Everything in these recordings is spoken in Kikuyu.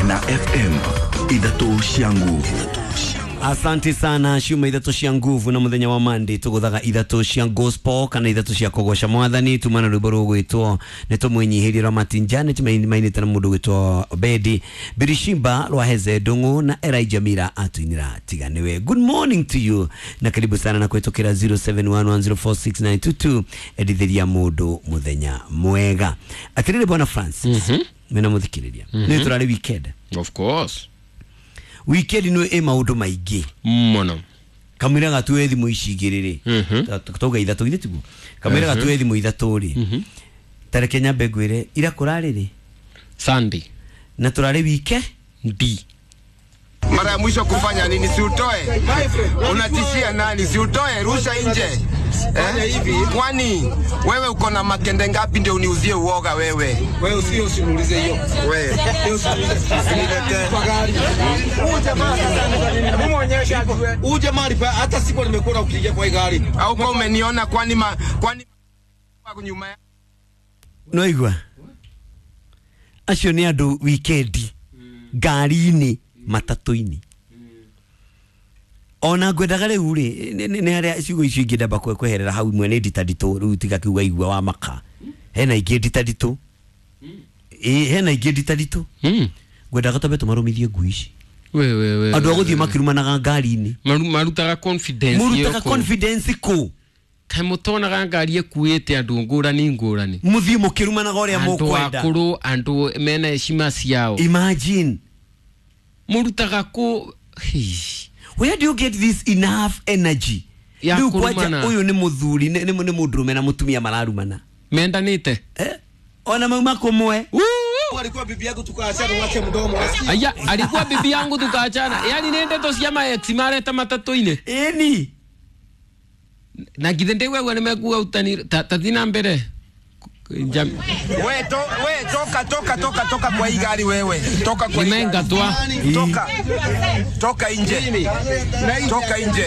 Kena FM ithatũ cia nguvu. Asante sana ciuma ithatũ cia nguvu na muthenya wa Monday tuguthaga ithatũ cia gospel kana ithatũ cia kũgoca mwathani tumana rwĩmbo rũgwĩtwo nĩ tũmwĩnyihĩrie rwa Martin Janet mainĩte na mũndũ gwĩtwo Obedi Birishimba rwa Heze Ndung'u na Elijah Mira atuinĩra tiga nĩwe. Good morning to you na karibu sana na kũhĩtũkĩra 0711046922 endithĩria mũndũ mũthenya mwega. Atĩrĩrĩ bwana Francis, mena mũthikĩrĩria nĩ tũrarĩ weekend. Of course. Weekend nä ä maå ndå maingä Mũno. kamwira gatue thimå ici igä rä rä tauga ithatå githä tiguo kamwira gatue thimå ithatå rä tareke nyambe ngwä re ira kå rarä rä Sunday. na tå rarä wike D. Mara ya mwisho kufanya nini? Si utoe. Unatishia nani? Si utoe, rusha nje. Eh? Kwani wewe uko na makende ngapi ndio uniuzie uoga wewe? Wewe usio usimuulize hiyo. Wewe. Usiniletee. Kwa gari. Huyu jamaa sasa hebu muonyeshe ajue. Huyu jamaa alipa hata siku nimekuona ukiingia kwa hii gari. Au kwa umeniona kwani kwani nyuma ya no igua acio nä andå wikendi ngari-inä matatå-inä ona ngwendaga rä u rä nä harä a ciugo icio ingä ndamba kweherera hau imwe nä nditanditå rä u tiga kiuga igua wa maka hena ingä nditanditå hena ingä nditanditå ngwendaga twambe tũmarũmithie ngui ici We we we. andå a gå thiä makĩrumanaga ngari-inĩ Marutaga confidence. mũrutaga confidence kũ Kaĩ mũtonaga ngari ĩkuĩte andũ ngũrani ngũrani. mũthiĩ mũkĩrumanaga ũrĩa Andũ mũkwenda. akũrũ, andũ mena heshima ciao. Imagine. Mũrutaga kũ. Where do you get this enough energy? Ya Rĩu kwanja kũrumana. ũyũ nĩ mũthuri nĩ mũndũrũme na mũtumia mararumana. Mendanĩte. Ona mauma kũmwe. Alikuwa bibi yangu tukaachana, uache mdomo. Aya, alikuwa bibi yangu tukaachana. Yaani nĩ ndeto cia ma ex mareta matatũ-inĩ. Ĩni. Na githĩ ndĩgwegua nĩ mekuga utani tathi na mbere. We, we toka toka toka toka kwa hii gari wewe. Toka kwa hii gari. Nimengatwa. Toka. Toka nje. Toka nje.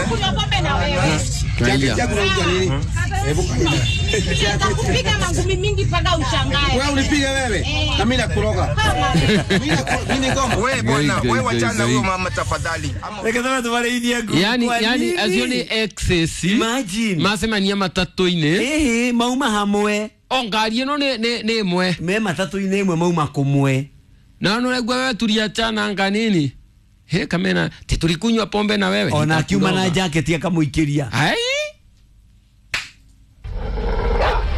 Kunywa pombe na wewe. Jack unauza nini? Hebu Nitakupiga mangumi mingi mpaka ushangae. wewe unipige wewe na mimi nakuroga. Mimi ngoma. We bwana, we wachana huyo mama tafadhali. Reke tũbe tũmarĩithie ngui. Yani Kwa yani nini? acio nĩ exes. Imagine. Macemania matatũ-inĩ. Ĩhĩ mauma hamwe. O ngari ĩno nĩ ĩmwe. Me matatũ-inĩ ĩmwe mauma kũmwe. Na nĩ ũraigua wewe tuliachana anga nini? He kamena ti tulikunywa pombe na wewe. Ona akiuma na Nitakuroga. jaketi akamũikĩria. Ai.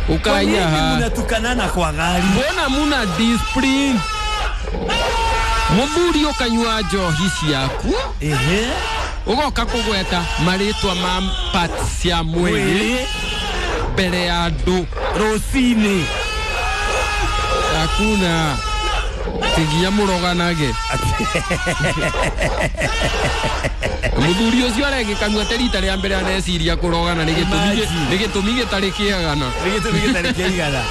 Kwa Ukaya nini ha. mnatukanana kwa gari? Mbona muna discipline? Mũthuri ũkanyua njohi ciaku Ehe. ũgoka kũgweta marĩtwa ma parts cia mwĩrĩ mbere ya andũ Rũcinĩ. Hakuna tigia mũroganage. Mũthuri ũcio aregĩkanua te rita rĩa mbere aneciria kũrogana nĩ gĩtũmi gĩtarĩ kĩagana. Nĩ gĩtũmi gĩtarĩ kĩigana.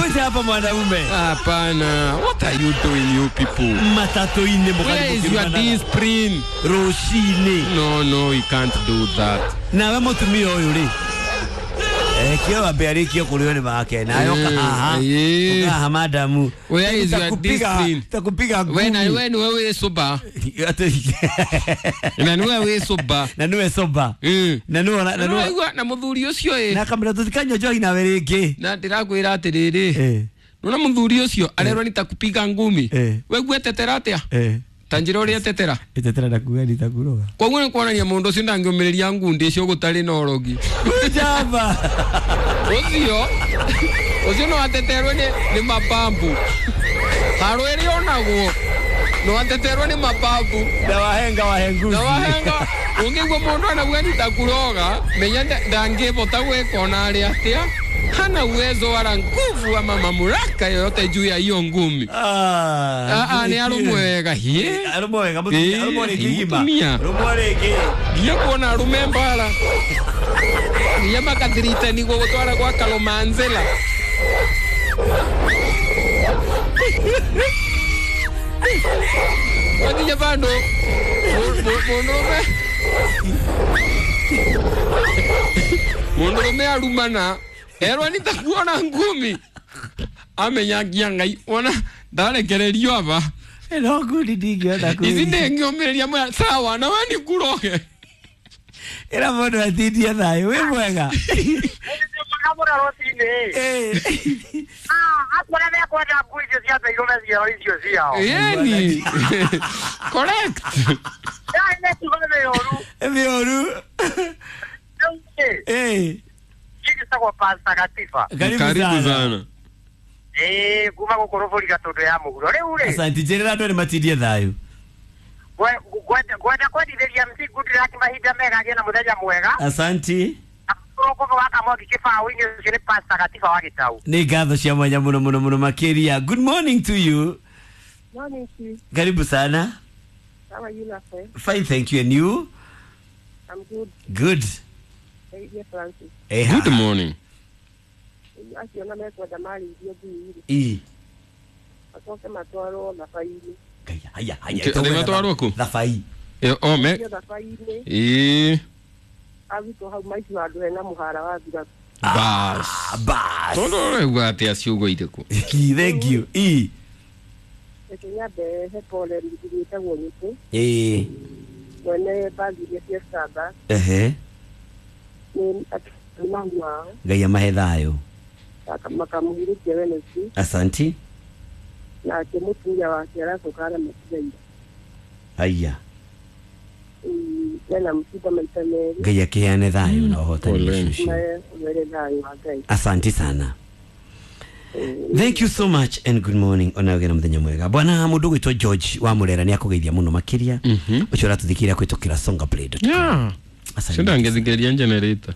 Kuja hapa mwanaume. Hapana. What are you doing you people? Matatũ-inĩ Where is your discipline? Rũcinĩ. No, no, we can't do that. Nawe mũtumia ũyũ rĩ kĩo wambe arĩkie kũrĩo nĩ make nawe ũka haha. Ũka haha madamu. Where is your discipline? Nitakupiga ngumi. We na we niwe wĩ sober. Na niwe wĩ sober. Na niwe sober. Na niwe na niwe na mũthuri ũcio ĩ. Na kamera tũtikanyua njohi nawe rĩngĩ. Na ndĩrakwĩra atĩrĩrĩ. Nona mũthuri ũcio arerwo nitakupiga ngumi. We gwetetera atĩa? Ta njĩra ũrĩa etetera. Etetera na kuga nitakuroga. Koguo nĩ kuonania mũndũ ũcio ndangĩũmĩrĩria ngundi icio gũtarĩ na ũrogi. Jaba. Ũcio ũcio no ateterwo nĩ mabambu. Haro ĩrĩa onagwo no ateterwo nĩ mabambu. Na wahenga wahenguzi. Na wahenga ũngĩigua mũndũ anauga nitakuroga menya ndangĩhota gwĩka ona arĩ atĩa. Hana uwezo wala nguvu ama mamlaka yoyote juu ya hiyo ngumi. Ni arũmwe wega hie. Arũmwe wega mũtumia, arũmwe rĩngĩ igima. Arũmwe rĩngĩ. Nginya kuona arũme mbara. Nginya makathirita niguo gũtwara gwa Kalomanzela. Wakinya bado mũndũrũme. Mũndũrũme arumana. Erwa nitakuona ngumi. Amenya ngia Ngai wona ndarekererio aba. No good ndingĩhota Ici ndĩngĩũmĩrĩria mwea sawa na we nĩ kuroge. Ĩra mũndũ atindie thayũ wĩ mwega. Yeni. Correct. Mĩũru. Karibu sana. Kuma gũkũ rũbũri gatũndũ ya mũhuro rĩu rĩ. Asante njĩrĩra andũ nĩ matindie thayũ. Ngwenda kwendithĩria MC Goodluck mahinda mega agĩe na mũthenya mwega. Asante. Rũkũbũ wa Kamwangi kĩbaũ-inĩ ũcio nĩ Pastor Gatiba wa Gĩtau. Nĩ ngatho cia mwanya mũno mũno mũno makĩria. Good morning to you. Morning to you. Karibu sana. How are you, Rafael? Fine, thank you. And you? I'm good. Good. Hey, dear Francis. Hey, good morning. Acio na mekwenda marĩithio ngui rĩ. Macoke matwarwo thabai-inĩ. Haya, haya. Matwarwo kũ? Thabai. O me. Thabai-inĩ. Ĩĩ. Arutwo hau maici handũ hena mũhara wa thirabu. Bas. Bas. Tondũ ũraigua atĩa ciugo irĩkũ? Thank you. Ĩ. Reke nyambe he pole mũthuri wĩtagwo Nyũkũ. Ĩĩ. Mwene bagi iria cia Starbucks. Ehe. Nĩ mami wao. Ngai amahe thayũ. Makamũhurũkia Wednesday. Asante. Nake mũtumia wake aracoka aramatiga ira. Aya. Ena msiba maita merĩ. Ngai akĩheane thayũ na ũhotani ũcio. Were thayũ wa Ngai. Asante sana. Thank you so much and good morning. Ona ũgĩe na mũthenya mwega. Bwana mũndũ gwĩtwo George wa Mũrera nĩ akũgeithia mũno makĩria. Ũcio ũratũthikĩrĩria kũhĩtũkĩra songaplay.com. Yeah. Asante. Sindangĩthikĩrĩria generator.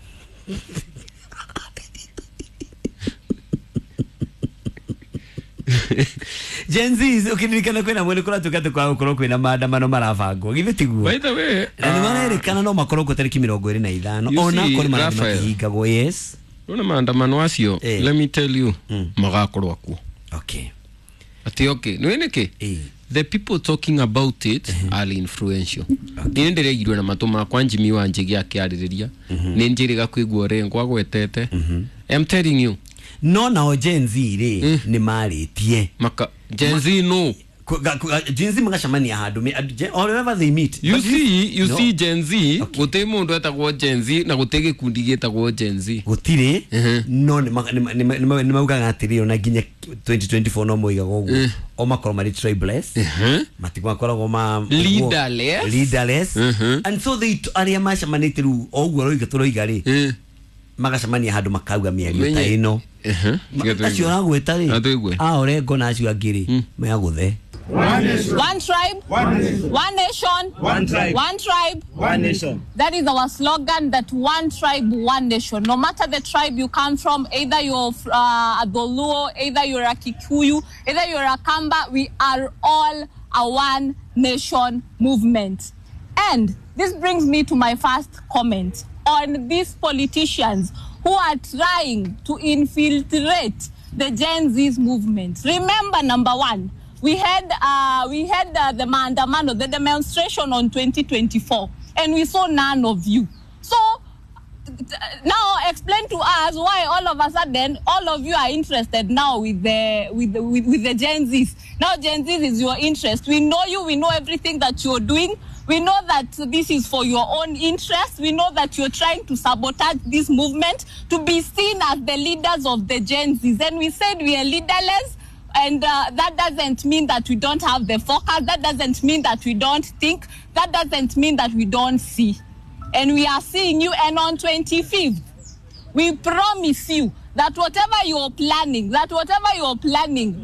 Gen Z ukiririkana kwina mwene kũratuĩka atĩ kwaga gũkorwo kwĩna maandamano marabangwo githĩ tiguo? By the way, na nĩ marerĩkana no makorwo kuo tarĩki 25 ona akorwo marathiĩ makĩhingagwo. Yes. Nona maandamano acio, let me tell you, magakorwo kuo. Okay. Ati okay, nĩ nĩkĩ? The people talking about it are influential. Nĩ ndĩreigirwo na matũ makwa Jimmy wa Njigi akĩarĩrĩria. Nĩ njĩrĩga kũigua Orengo agwetete. I'm telling you. No nao Gen Z rĩ nĩ marĩtie. Maka Gen Z no. Gen Z magacemania handũ or wherever they meet. You see, you see Gen Z, gũtirĩ mũndũ etagwo Gen Z na gũtirĩ gĩkundi gĩtagwo Gen Z. Gũtirĩ. No nĩ maugaga atĩrĩ ona nginya 2024 no moigaga ũguo. O makorwo marĩ tribeless. Matigakoragwo ma leaderless. Leaderless. And so they arĩa macemanĩtie rĩu o ũguo roiga tũroiga rĩ. Magacemania handũ makauga mĩario ta ĩno. Acio ũragwĩta rĩ, a Orengo na acio angĩ rĩ, megũthe. One tribe, one nation, one nation, one tribe, one tribe, one nation. That is our slogan, that one tribe, one nation. No matter the tribe you come from, either you're a Dholuo, either you're a Kikuyu, either you're a Kamba, we are all a one nation movement. And this brings me to my first comment on these politicians who are trying to infiltrate the Gen Z's movement. Remember, number one, we had the maandamano, the demonstration on 2024, and we saw none of you. So now explain to us why all of a sudden all of you are interested now with the Gen Zs. Now Gen Zs is your interest. We know you. We know everything that you're doing. We know that this is for your own interest. We know that you're trying to sabotage this movement to be seen as the leaders of the Gen Zs. And we said we are leaderless. And that doesn't mean that we don't have the focus. That doesn't mean that we don't think. That doesn't mean that we don't see. And we are seeing you. And on 25th, we promise you that whatever you're planning,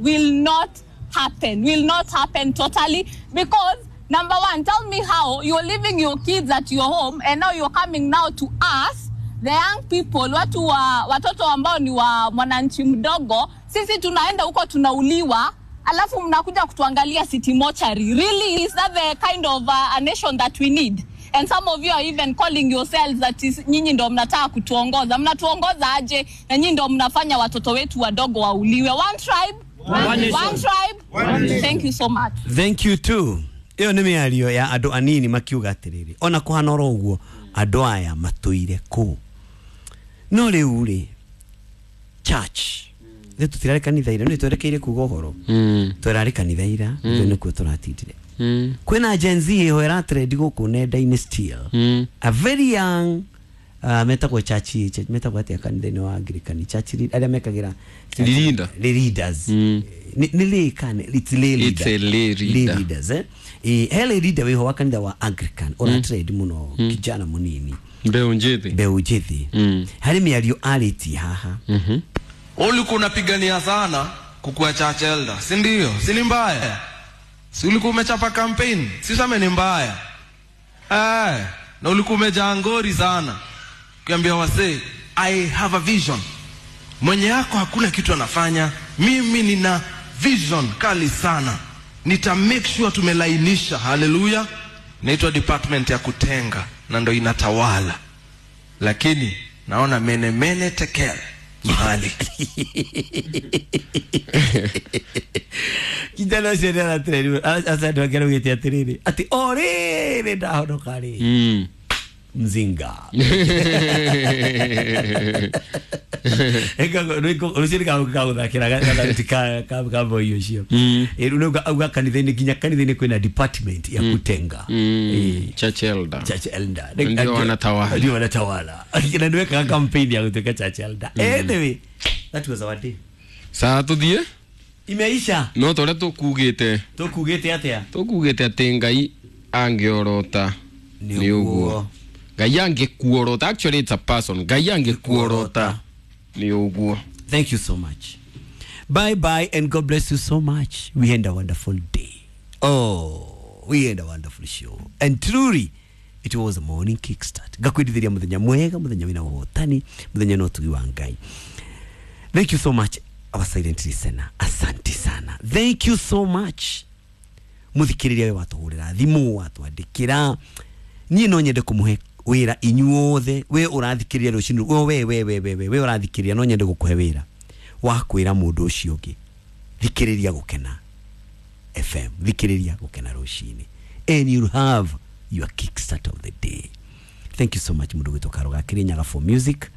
will not happen, will not happen totally. Because, number one, tell me how you're leaving your kids at your home and now you're coming now to us, the young people, watu wa, watoto ambao ni wa mwananchi mdogo, sisi tunaenda huko tunauliwa, alafu mnakuja kutuangalia city mortuary. Really, is that the kind of a nation that we need? And some of you are even calling yourselves that is nyinyi ndo mnataka kutuongoza. Mnatuongoza aje na nyinyi ndo mnafanya watoto wetu wadogo wauliwe. One tribe, one nation. One tribe, one nation. Thank you so much. Thank you too. Iyo nĩ mĩario ya andũ anini makiuga atĩrĩrĩ, ona kũhana oro ũguo andũ aya matũire kũ. No rĩu rĩ, church Ithuĩ tũtirarĩ kanitha ira nĩ twerekeire kuga ũhoro. Tũrarĩ kanitha ira ithuĩ nĩkuo tũratindire. Kwĩna Gen Z ĩho ĩratrend gũkũ nenda-inĩ still. A very young metagwo church metagwo atĩa kanitha-inĩ wa Anglican church arĩa mekagĩra Leader. Leaders. Nĩ lay kana it's lay leader. It's a lay leader. Lay leaders eh. He lay leader wĩho wa kanitha wa Anglican ũratrend mũno kijana mũnini Mbeũ njĩthĩ. mbeũ njĩthĩ. Harĩ mĩario arĩtie haha. Ulikuwa unapigania sana kukuwa church elder, si ndio? Si ni mbaya? Si ulikuwa umechapa campaign? Si useme ni mbaya? Eh, na ulikuwa umejaa ngori sana. Ukiambia wasee, I have a vision. Mwenye yako hakuna kitu anafanya, mimi nina vision kali sana. Nita make sure tumelainisha. Haleluya. Inaitwa department ya kutenga na ndo inatawala. Lakini naona mene mene tekel mahali. Kijana ũcio nĩ aratrend aca andũ angĩ araugĩte atĩrĩrĩ atĩ o rĩrĩ ndahonoka rĩ mzinga rũciũ nĩgagũthakĩra gathauti ka boy ũcio. Rĩu auga kanitha-inĩ nginya kanitha-inĩ kwĩna department ya kutenga. Church elder. Church elder. Ndio wanatawala. Ndio wanatawala. Na nĩwekaga campaign ya gũtuĩka church elder. Anyway, that was our day. Saa tũthiĩ imeisha. No tũrĩa tũkugĩte. Tũkugĩte atĩa? Tũkugĩte atĩ Ngai angĩorota nĩ ũguo. Ngai angĩkuorota, actually it's a person. Ngai angĩkuorota nĩ ũguo. Thank you so much. Bye bye and God bless you so much. We had a wonderful day. Oh, we had a wonderful show. And truly it was a morning kickstart. Ngakwendithĩria mũthenya mwega, mũthenya wĩna ũhotani, mũthenya na ũtugi wa Ngai. Thank you so much our silent listener. Asante sana. Thank you so much. Muthikiriria we watuhurira thimu watwandikira. Niĩ no nyende kũmũhe wĩra inyuothe we ũrathikĩrĩria rũcinĩ we we we we we ũrathikĩrĩria no nyende gũkũhe wĩra wa kwĩra mũndũ ũcio ũngĩ thikĩrĩria Gũkena FM, thikĩrĩria Gũkena rũcinĩ and you'll have your kickstart of the day. Thank you so much mũndũ gwĩtwo Karoga Kirinyaga for music.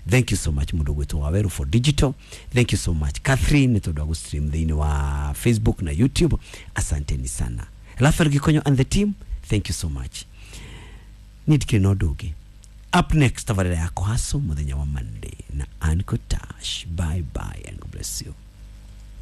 Thank you so much mũndũ gwĩtwo Waweru for digital. Thank you so much Catherine nĩ tondũ wa gũstream thĩinĩ wa Facebook na YouTube. Asanteni sana. Rafael Gikonyo and the team, thank you so much. Nidikire no ndũngĩ. Up next tabarĩra yako haso mũthenya wa Monday na Uncle Tash. Bye bye and God bless you.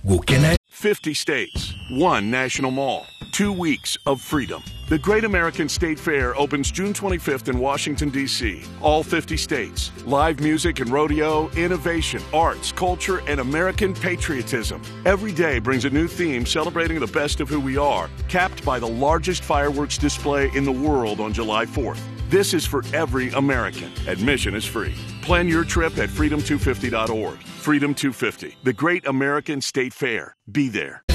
Gũkena 50 states, one national mall, 2 weeks of freedom. The Great American State Fair opens June 25th in Washington, D.C. All 50 states. Live music and rodeo, innovation, arts, culture, and American patriotism. Every day brings a new theme celebrating the best of who we are, capped by the largest fireworks display in the world on July 4th. This is for every American. Admission is free. Plan your trip at freedom250.org. Freedom 250, the Great American State Fair. Be there.